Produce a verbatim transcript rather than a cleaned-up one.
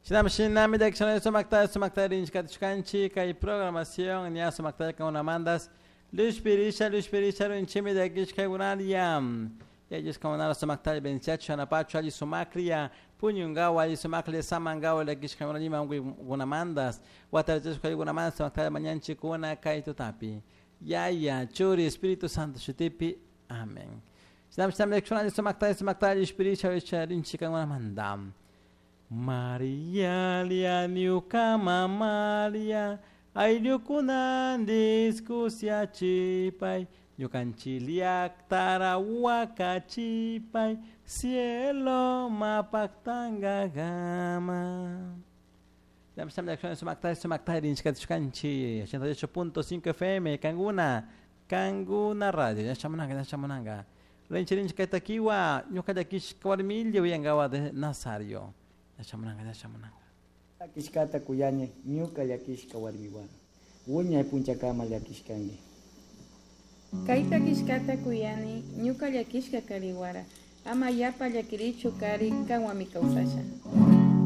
Shinami shinami llakishana sumakta sumakta rinchikatishkanchik kay programación ña sumakta kankunamantas Lushpirisha lushpirisha rinchimi llakishkaykunaria yallishkakunara sumakta benciachu yanapachu alli sumaklla puñunkawa alli sumaklla samankawa llakishkaykuna ima unkuykunamantas watarachishkaykunamantas sumakta mañanchikuna kay tutapi Yaya Churi Espíritu Santo shutipi amén. Shinami shinami llakishkuna alli sumakta sumakta lushpirisha rinchikaykunamanta Maria lia ñukama Maria ayllukunan discusiachipay ñukanchik llaktara wakachipay cielo mapaktankakama. Sumakta rinchikatishkanchik ochenta y ocho punto cinco F M Kanguna Kanguna Radio yachamunanga yachamunanga rinchi rinchi kaytakiwa ñuka llakishka warmilla uyankawa de Nazario yachamunanga yachamunanga. Llakishkata kuyani ñuka llakishka warmiwan wiñay punchakama llakishkanki. Kayta kishkata kuyani ñuka llakishka kariwara ama yapa llakirichu kari kanwami kawsasha.